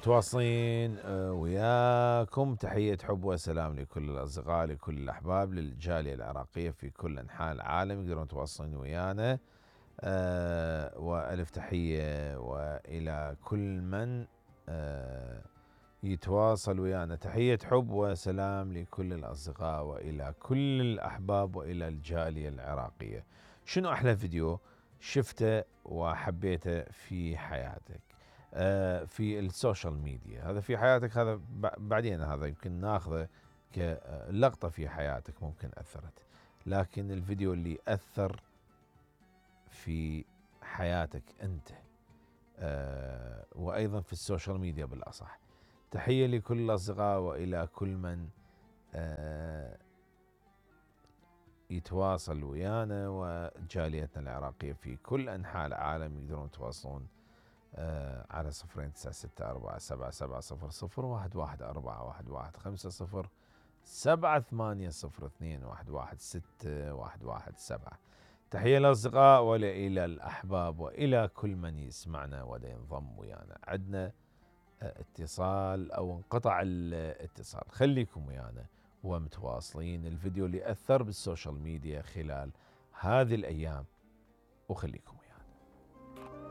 متواصلين وياكم. تحية حب وسلام لكل الأصدقاء، لكل الأحباب، للجالية العراقية في كل أنحاء العالم يقدرون يتواصلون ويانا. وألف تحية وإلى كل من يتواصل ويانا. تحية حب وسلام لكل الأصدقاء وإلى كل الأحباب وإلى الجالية العراقية. شنو أحلى فيديو شفته وحبيته في حياتك في السوشيال ميديا؟ هذا في حياتك، هذا بعدين هذا يمكن ناخذه كلقطة في حياتك ممكن أثرت، لكن الفيديو اللي أثر في حياتك أنت وأيضا في السوشيال ميديا بالأصح. تحية لكل الأصدقاء وإلى كل من يتواصل ويانا وجاليتنا العراقية في كل أنحاء العالم يقدرون يتواصلون على 0967770011507802116117. تحية للأصدقاء وإلى الأحباب وإلى كل من يسمعنا ودا ينضم ويانا. عندنا اتصال أو انقطع الاتصال، خليكم ويانا ومتواصلين. الفيديو اللي أثر بالسوشيال ميديا خلال هذه الأيام وخليكم